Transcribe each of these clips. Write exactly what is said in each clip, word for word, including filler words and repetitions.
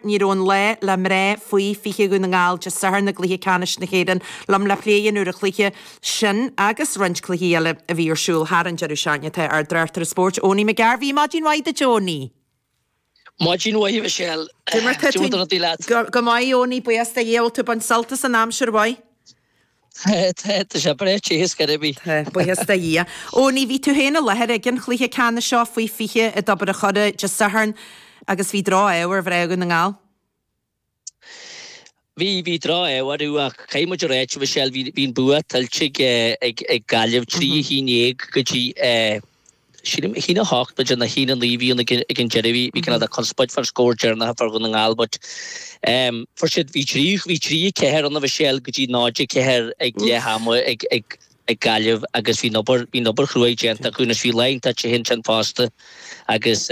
Ní raibh an lá le mná faoi fiche Dhún na nGall Dé Sathairn i gcluiche ceannais na hÉireann. Liom le plé a dhéanamh ar an chluiche sin agus roinnt cluichí eile a bhí ar siúl thar an deireadh seachtaine tá ár dtráchtaire spóirt, Owenie McGarvey. Maidin mhaith duit, Owenie. Maidin mhaith, Michelle. Cad é mar tá tú? Go maith, Owenie, buíochas do Dhia. Bhfuil tú ag baint sult as an aimsir mhaith? Tá, tá sé breá te ar scor ar bith. Tá, buíochas do Dhia. Owenie, bhí tú féin i láthair ag an chluiche ceannais seo faoi fiche i dTobar an Choire Dé Sathairn agus bhí droch-ádh ar mhná Dhún na nGall. Bhí, bhí droch-ádh orthu ach caithfidh muid a ráit, Michelle, bhí, bhí an bua tuillte ag, ag, ag Gaillimh, trí a haon déag go dtí, sílim, a haon a hocht b'fhéidir nó a haon a naoi a bhí ann ag, ag an deireadh. Bhí, bhí cineál de conspóid fán scór deireanach a fuair Dhún na nGall but fuair siad, bhí trí, bhí trí a ceathair ann a Mhichelle go dtí náid a ceathair ag leath ama ag, ag, ag Gaillimh agus bhí an obair, bhí an obair chruaidh déanta acu anois bhí lá iontach te ansin fosta agus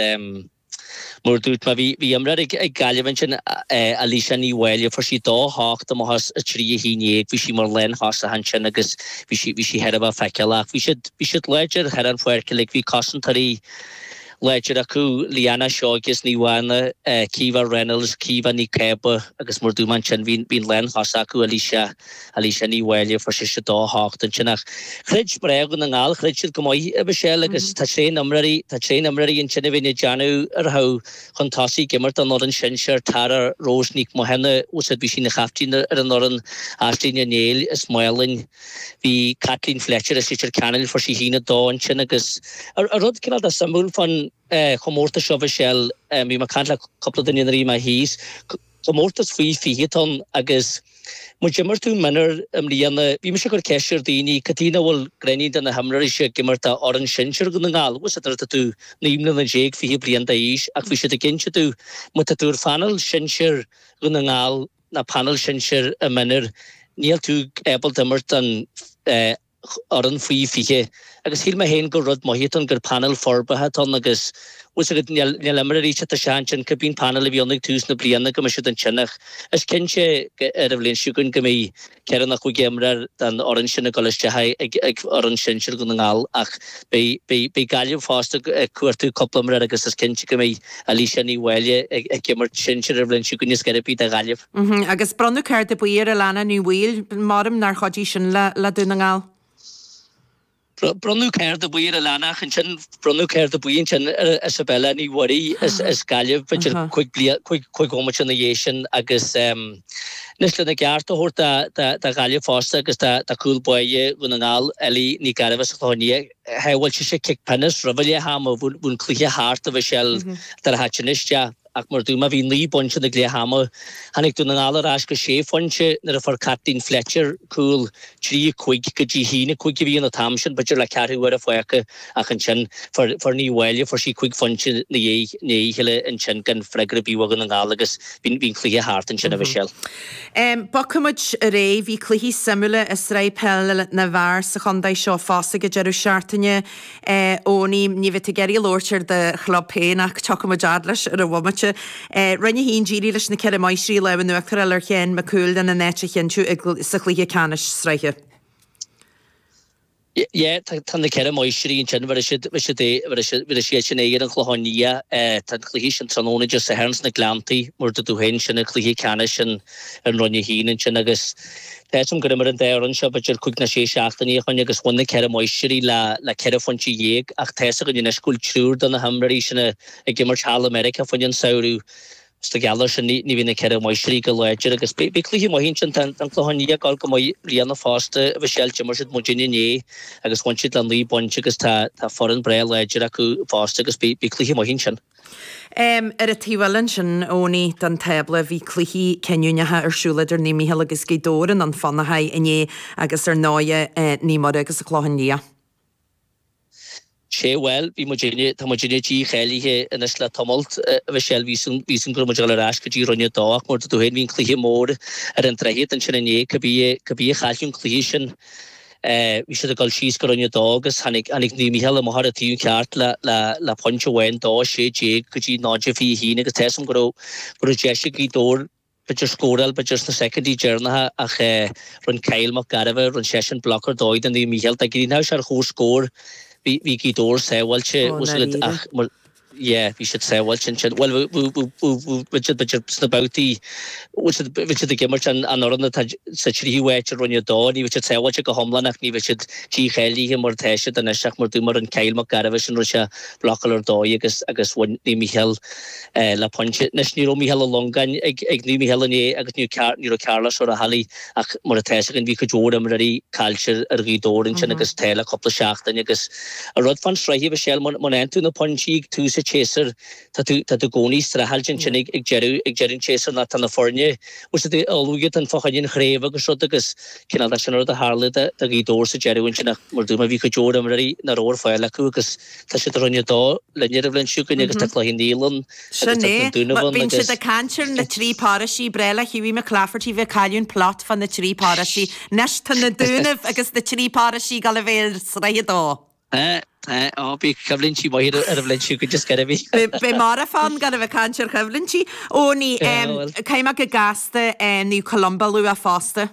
mar a dúirt mé bhí, bhí imreoir ag, ag Gaillimh ansin, Alicia Ní Mháille, fuair sí dó hocht amach as a trí a haon déag, bhí sí mar lánthosaithe ansin agus bhí sí, bhí sí thar a bheith feiceálach. Bhí siad, bhí siad láidir thar an pháirc uilig, bhí cosantóirí láidir acu, Leanna Seoige as Naomh Anna, Caoimhe Reynolds, Caoimhe Ní Cába agus mar a dúirt mé ansin bhí an lánthosaí acu Alicia, Alicia Ní Mháille, fuair sise dó hocht ansin ach chreid mná Dhún na nGall, chreid siad go maith a Mhichelle agus tá tréan imreoirí, tá tréan imreoirí ansin a bhíonn ag déanamh ar thabh chun tosaigh ag imirt don fhoireann sinsir, Tara Rose Nic Mathúna, bhí sí ina chaiftín ar an fhoireann, Aisling Ní Néill as Málainn. Bhí Caitlín Fletcher as Leitir Ceanainn, fuair sí haon a dó ansin agus an rud cineál de suimiúil fán chomórtas seo Mhichelle, bhí mé ag caint le cúpla duine nuair a bhí mé thíos, comórtas faoi fiche atá ann agus má d'imir tú mionúr i mbliana, bhí mise ag cur ceist ar daoine cad chuige nach bhfuil gnáithnín de na himreoirí seo ag imirt do fhoireann sinsir Dhún na nGall, bhfuil a fhios agat nuair atá tú naoi mbliana déag, fiche bliain d'aois ach bhí siad ag inse domh má tá tú ar phainéal sinsir Dhún na nGall, ná painéal sinsir i mionúr, níl tú ábalta imirt don fhoireann faoi fiche. Agus shíl mé féin gur rud maith atá ann, gur painéal forbartha atá ann agus bhfuil 's agat, níl níl imreoirí ag teacht isteach ansin, cibé an painéal a bhí ann ag tús na bliana go mbeidh siad ansin ach is cinnte ar an bhliain seo chugainn go mbeidh ceithre nó cúig imreoir den fhoireann sin ag dul isteach ag ag fhoireann sinsir Dhún na nGall ach beidh beidh beidh Gaillimh fosta ag cuartú cúpla imreoir agus is cinnte go mbeidh Alicia Ní Mháille ag ag imirt sinsir ar an bhliain seo chugainn ar scor ar bith do Ghaillimh. Agus bronnadh cárta buí ar Alana Ní Bhaoill, maram nár chuidigh sin le le Dún na nGall. Bronnadh cárta buí ar Alana ach ansin bronnadh cárta buí ansin ar Isabella Ní Mhuirí as Gaillimh b'fhéidir cúig bliain, cúig bhomaite ina dhiaidh sin agus anois lena gceart a thabhairt do Ghaillimh fosta agus do chúl báire Dhún na nGall, Ellie Ní Ghairbhith as an Chlochán Liath, shábháil sise cic pionóis roimh leath ama, bhí an cluiche thart a Mhichelle dar a háit anois. Ach mar a dúirt mé, bhí naoi bpointe ag leath ama. Tháinig Dún na nGall ar ais go sé phointe nuair a fuair Caitlín Fletcher cúl trí a cúig go dtí haon a cúig a bhí ann an t-am sin, b'fhéidir le ceathrú uaire fágtha ach ansin fuair fuair Ní Mháille, fuair sí cúig phointe ina dhiaidh ina dhiaidh a chéile ansin gan freagra ar bith ó Dhún na nGall agus bhí bhí an cluiche thart ansin a Mhichelle. Bogfaimid ar aghaidh. Bhí cluichí suimiúla i Sraith Peile na bhFear sa chontae seo fosta ag an deireadh seachtaine. Owenie, ní bheidh tú ag iarraidh labhairt ar do chlub féin ach tiocfaimid fhad leis ar an bhomaite. Roinn a haon, d'éirigh leis na Ceithre Máistrí lámh in uachtar a fháil ar Sheán Mac Cumhaill lena n-áit a chinntiú sa chluiche ceannais sraithe. Yeah, tá na Ceithre Máistrí ansin, bheir siad, bheir siad é, bheir siad, bheir siad sin aghaidh ar an Chlochán Liath. Tá an cluiche sin tráthnóna Dé Sathairn sna Gleanntaí, mar a dúirt tú féin, sin an cluiche ceannais in Roinn a haon ansin agus Tá 'fhios a'm gur imir an dá fhoireann seo b'fhéidir cúig nó sé seachtainí ó shoin agus bhain na Ceithre Máistrí le le ceithre phointe dhéag ach tá 'fhios againn anois go bhfuil triúr de na himreoirí sin ag imirt thall i Meiriceá fá choinne an samhradh. Is de gheall air sin ní ní bhíonn na Ceithre Máistrí go láidir agus beidh beidh cluiche maith ansin. Tá an Clochán Liath ag dul go maith i mbliana fosta a Mhichelle. D'imir siad muidinne inné agus bhain siad le naoi bpointe agus tá tá foireann breá láidir acu fosta agus beidh beidh cluiche maith ansin. Ar an taobh eile ansin, Owenie, den tábla, bhí cluichí cinniúnacha ar siúl idir Naomh Mícheál agus Gaoth Dobhair i nDún Fionnachaidh inné agus ar ndóighe Naomh Muire agus an Clochán Liath. Sé, bhuel, bhí muidinne, tá muidinne dícháilithe anois le tamalt, a Mhichelle, bhí 'fhios a'm, bhí 'fhios a'm go raibh muid ag dul ar ais go dtí Roinn a Dó ach mar a dúirt tú féin, bhí an cluiche mór ar an Droichead ansin inné, cibé, cibé a chaillfeadh an cluiche sin, Bhí siad ag dul síos go Roinn a Dó agus tháinig tháinig Naomh Mícheál amach ar an taobh ceart le le le pointe amháin, dó a sé déag go dtí náid a fiche a haon agus tá 'fhios a'm go raibh go raibh deis ag Gaoth Dobhair b'fhéidir scóráil b'fhéidir sna soicindí deireanacha ach rinne Kyle Mac Gairbheith, rinne seisean bloc ar dóigh do Naomh Mícheál. Dá gcríochnódh sé ar chomhscór bhí bhí Gaoth Dobhair sábháilte Ó, bhfuil 'fhios agat ndáiríre. ach mar yeah, bhí siad sábháilte ansin. Bhuel, bhí siad b'fhéidir sna babhtaí, bhí siad bhí siad ag imirt an an fhoireann atá sa tríú háit i Roinn a Dó, ní bhí siad sábháilte go hiomlán ach ní bhí siad dícháilithe mar atá siad anois ach mar dúirt an Kyle Mac Gairbheith sin raibh sé blocáil ar dóigh agus agus bhain Naomh Mícheál le pointe. Anois ní raibh Mícheál Ó Longáin ag ag Naomh Mícheál inné agus ní ní raibh Carlos Ó Raghallaigh ach mar atá a fhios againn bhí cuid mhór imreoirí caillte ar Ghaoth Dobhair ansin agus tá le cúpla seachtain agus an rud fán sraith a Mhichelle má fhaigheann tú na pointí ag tús an tséasúir tá tú tá tú i gcónaí streachailt ansin ag ag deireadh ag deireadh an tséasúir ná tá na foirne bhfuil siad ullmhaithe fá choinne an chraobh agus rud agus cineál sin an rud a tharla do do Ghaoth Dobhair sa deireadh ansin ach mar dúirt mé bhí cuid mhór imreoirí nach raibh ar fáil acu agus tá siad i Roinn a Dó linn ar an bhliain seo chugainn agus tá cluichí naíolann Sin agus tá é. na Dúnaibh ann Bíonn agus siad ag caint ar na trí paráistí breá le Hughie McClafferty bheith cailliúint plot fan na trí paráistí. Anois tá na Dúnaibh agus na trí paráistí ag gabháil a bheith ar sraith a dó. Eh, eh, ó bhí coimhlintí maith ar an bhliain seo chugainn just go bhí. Beidh marafán gan a bheith caint ar choimhlintí. Ó ní caithfidh mé go gasta Naomh Columba a lua fosta.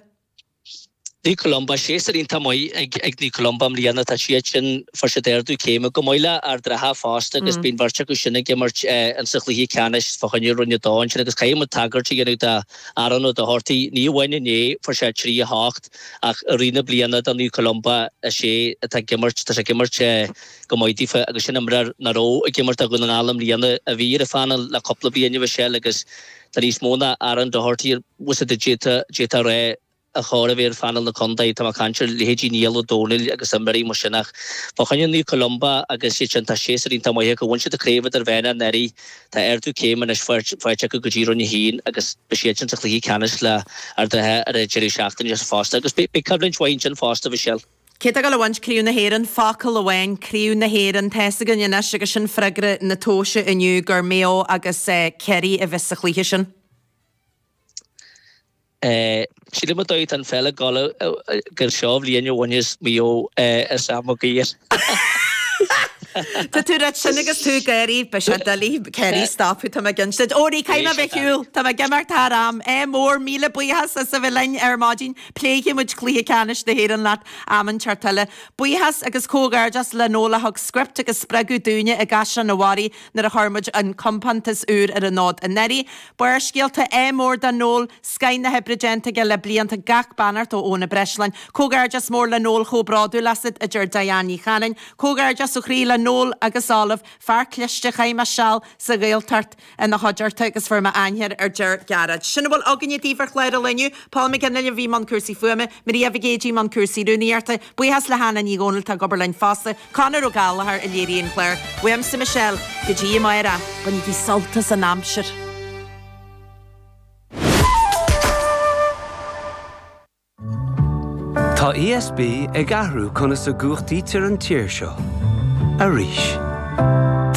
Naomh Columba, séasúr iontach maith ag ag Naomh Columba i mbliana tá siad sin fuair siad ardú céime go maith le Ard an Rátha fosta agus bíonn beirt acu sin ag imirt in sa chluiche ceannais fá choinne Roinn a Dó ansin agus caithfidh muid tagairt a dhéanamh do Aaron Ó Dochartaigh ní amháin inné fuair sé trí a hocht ach i rith na bliana do Naomh Columba is é atá ag imirt tá sé ag imirt go maith daofa agus sin imreoir nach raibh ag imirt do Dhún na nGall i mbliana a bhí ar an phainéal le cúpla bliain a Mhichelle agus tá níos mó ná Aaron Doherty bhfuil siad d'fhéadfá a rá a chóir a bheith ar phainéal na contae, tá mé ag caint ar leithéidí Niall Ó Dónaill agus imreoirí mar sin ach fá choinne Naomh Columba agus iad sin tá séasúr iontach maith acu, bhain siad an chraobh idirmheánach anuraidh, tá ardú céime anois faighte acu go dtí Roinn a haon agus beidh siad sin sa chluiche ceannais le Ard an Rátha ar an deireadh seachtaine fosta agus beidh coimhlint mhaith ansin fosta, Michelle. Cé atá ag gabháil a bhaint Craobh na hÉireann? Focal amháin, Craobh na hÉireann. Tá's againn anois agus sin freagra na tomhaise inniu gur Maigh Eo agus Ciarraí a bheas sa chluiche sin. Sílim an dóigh atá an pheil ag dul gur seo bhliain a bhainfeas Maigh Eo as Áth Maguire. Tá tú ag ráit sin agus tú ag gáirí, beidh sé doiligh Ciarraí a stopadh, tá mé ag inse duit. Ó ní caithfidh mé bheith ar shiúl, tá mé ag imeacht thar am. Ádh mór, míle buíochas as a bheith linn ar maidin. Pléifidh muid cluiche ceannais na hÉireann leat am inteacht eile. Buíochas agus comhghairdeas le Noel a thug script agus spreagadh dúinne i gCaisleán an Bharraigh nuair a chuir muid an compántas úr ar an fhód anuraidh. Barrscéalta, ádh mór do Noel, scoth na hoibre déanta aige le blianta, gach beannacht ó Eoin Ó Breisleáin. Comhghairdeas mór le Noel, chomh bródúil asat, a deir Diane Ní Chanainn. Comhghairdeas ó chroí le Noel agus Olive, fear cliste, chaith mé seal sa Ghaeltacht ina chuideachta agus fuair mé aithne air a deir Gearóid. Sin a bhfuil againne daoibh ar chlár an lae inniu. Paul McGinley a bhí i mbun cúrsaí fuaime, Maria Mhic Géidigh i mbun cúrsaí rúnaíochta. Buíochas le hAnna Ní Dhomhnaill atá ag obair linn fosta, Conor Ó Gallchóir a léirigh an clár. Uaimse Michelle, go dtí amárach, bainigí sult as an aimsir. Tá ESB ag athrú conas a gcumhachtaítear an tír seo. Arís.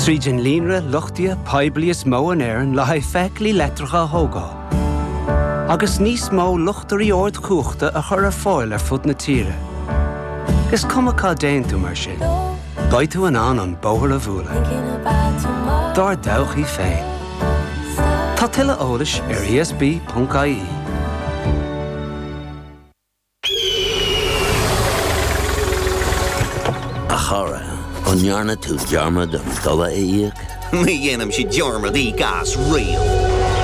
Tríd an líonra luchtaithe poiblí is mó in Éirinn le haghaidh feithiclí leictreacha a thógáil. Agus níos mó luchtairí ardchumhachta a chur ar fáil ar fud na tíre. Is cuma cá dtéann tú mar sin, beidh tú in ann an bóthar a bhualadh. Dár dtodhchaí féin. Tá tuilleadh eolais ar ESB.ie. A chara, an ndearna tú dearmad an dola a íoc? Ní dhéanaimse dearmad íoc as riamh.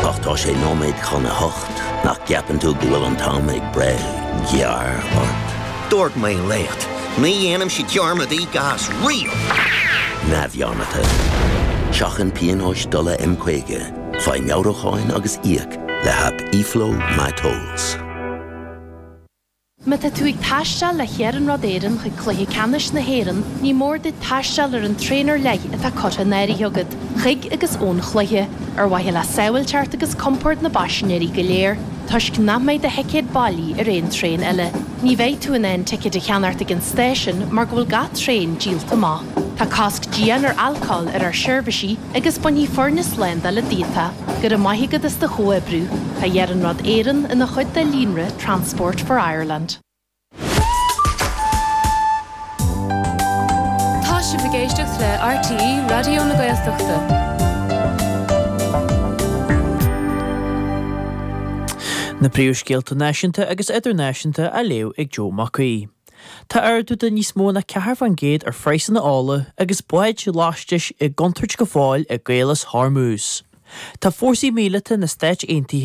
Ach tá sé nóiméad chun a hocht, nach gceapann tú go bhfuil an t-am ag breith gearr ort? Dúirt mé leat, ní dhéanaimse dearmad íoc as riamh! Neamhdhearmadta. Seachain pionóis dola M caoga, faigh meabhrúcháin agus íoc le haip eFlow MyTolls. Má tá tú ag taisteal le hIarnród Éireann chuig Cluiche Ceannais na hÉireann, ní mór duit taisteal ar an traein ar leith atá curtha in áirithe agat, chuig agus ón chluiche, ar mhaithe le sábháilteacht agus compord na bpaisinéirí go léir, toisc nach mbeidh do thicéad bailí ar aon traein eile. Ní bheidh tú in ann ticéid a cheannacht ag an stáisiún mar go bhfuil gach traein díolta amach. Tá cosc dian ar alcól ar ár seirbhísí agus bainfidh foirne slándála díot. Go raibh maith agat as do chomhoibriú. Tá Iarnród Éireann ina chuid de líonra Transport for Ireland. Tá sibh ag éisteacht le RTÉ Raidió na Gaeltachta. Na príomhscéalta náisiúnta agus idirnáisiúnta á léamh ag Joe Mac Aoidh. Tá ardú de níos mó ná ceathair faoin gcéad ar phraghsanna ola agus báid laistis i gcontúirt go fóill i gCaolas Hormuz. Tá fórsaí míleata na Stáit Aontaithe